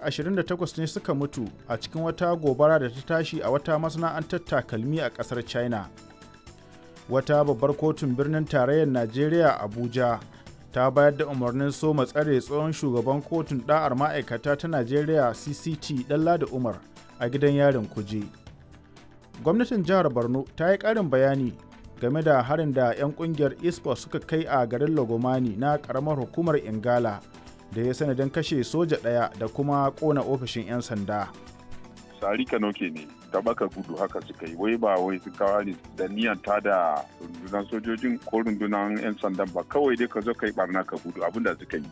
28 ne suka mutu a cikin wata gobara da ta tashi a wata masana'antar takalmi a ƙasar China. Wata babbar kotun birnin tarayyar Najeriya Abuja ta bayar da umarnin soma tsare tsohon shugaban kotun ɗa'ar ma'aikata ta Najeriya CCT Ɗanladi Umar a gidan yarin Kuje. Gwamnatin jihar Borno ta yi ƙarin bayani game da harin da 'yan kungiyar ISPO suka kai a garin Lagomani na ƙaramar hukumar Ingala da ya sanadin kashe soja ɗaya da kuma ƙona ofishin 'yan sanda. Sari Kanoke ne ta baka gudu haka suka yi, wai ba wai su kawo ne da niyan ta da rundunar sojojin ko rundunar 'yan sandan ba, kawai dai ka zo ka yi barna ka gudu, abin da suka yi.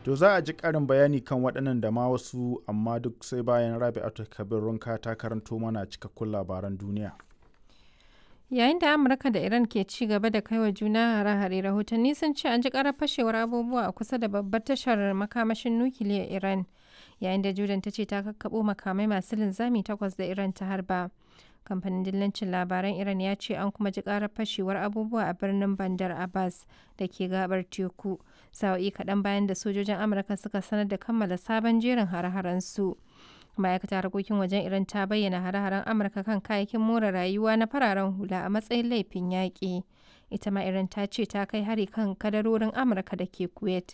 To za a ji ƙarin bayani kan waɗannan da ma wasu, amma duk sai bayan Rabi'atu Kabir Runka ta karanto mana cikakkun labaran duniya. Yayin da Amurka da Iran ke ci gaba da kaiwa juna hare-hare, rahotanni sun ce an ji karar fashewar abubuwa a kusa da babbar tashar makamashin nukiliyar Iran, yayin da Jordan ta ce ta kakkaɓo makamai masu linzami takwas da Iran ta harba. Kamfanin dillancin labaran Iran ya ce an kuma ji karar fashewar abubuwa a birnin Bandar Abbas da ke gabar teku, sa'o'i kaɗan bayan da sojojin Amurka suka sanar da kammala sabon jerin hare-haren su. Ma'aikatar harkokin wajen Iran ta bayyana hare-haren Amurka kan kayayyakin more rayuwa na fararen hula a matsayin laifin yaƙi. Ita ma Iran ta ce ta kai hari kan kadarorin Amurka da ke Kuwait.